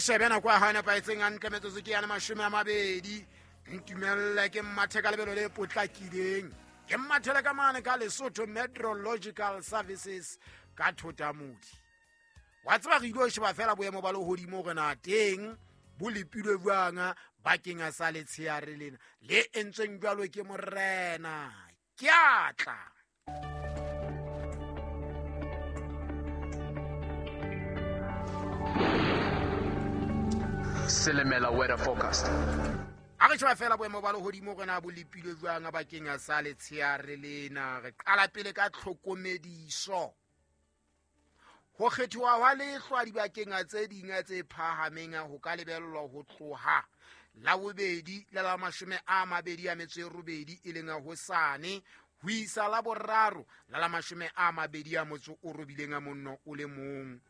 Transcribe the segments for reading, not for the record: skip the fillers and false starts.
Re shebe nako ya hao e nepahetseng hantle, metsotso ke yane 20. Ntumelle ke mmathe ka lebelo le potlakileng, ke mmathele ka mane ka Lesotho Meteorological Services ka Thotamodi. Wa tseba re ile ho sheba fela boemo ba lehodimo hore na teng bo lepilwe jwang bakeng sa letsheare lena le entsweng jwalo ke morena. Ke a tla. Selemela weather forecast. A re sheba fela boemo ba lehodimo hore na bo lepilwe jwang bakeng sa letsheare lena. Re qala pele ka tlhokomediso. Ho kgethiwa hwa lehlwa dibakeng tse ding tse phahameng ho ka lebellwa ho tloha la bobedi le la 28 e leng hosane ho isa la boraro la la 29.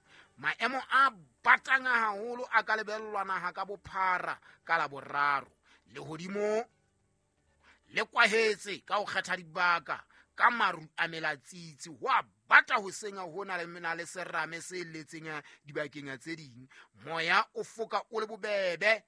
Maemo a batang haholo a ka lebellwa naha ka bophara ka la boraro. Lehodimo le kwahetse ka ho kgetha dibaka ka maru a melatsitsi, ho a bata hoseng ho na le mena le serame se letseng dibakeng tse ding. Moya o foka o le bobebe.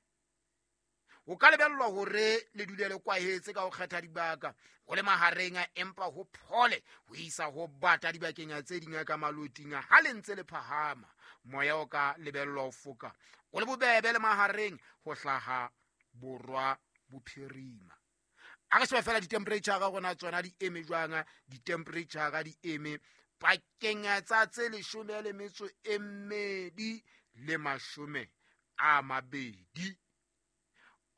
O ka lebellwa hore le dule le kwahetse ka ho kgetha dibaka ho le mahareng, empa ho phole ho isa ho bata dibakeng tse ding ka maloting ha le ntse le phahama. Moya o ka lebellwa ho foka o le bobebe le mahareng ho hlaha borwa bophirima. A re shebe fela di-temperature rona tsona di eme jwang. Di-temperature di eme pakeng tsa tse 12 le 20.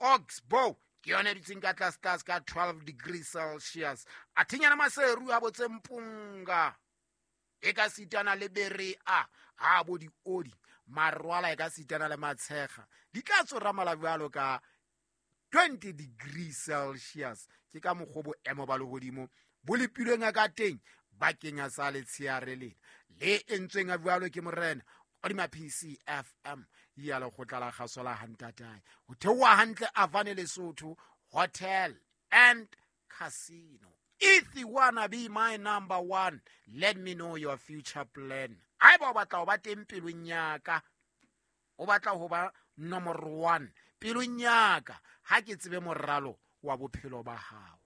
Oxbow ke yona e dutseng ka tlase tlase ka 12 degrees Celsius. A thinyana Maseru a botse Mpunga e ka sitana le Berea a bo diodi Marwala e ka sitana le Matshega di tla tsoramala jwalo ka 20 degrees Celsius. Ke ka mokgwa boemo ba lehodimo bo lepilweng ka teng bakeng sa letsheare lena le entsweng a jwalo ke morena hodima PCFM ya lekgotla la kgaso la Hantatae. Ho theoha hantle Avane Lesotho Hotel and Casino. If you wanna be my number one, let me know your future plan. Haeba o batla ho ba teng pelong ya ka, o batla ho ba number one pelong ya ka, ha ke tsebe moralo wa bophelo ba hao.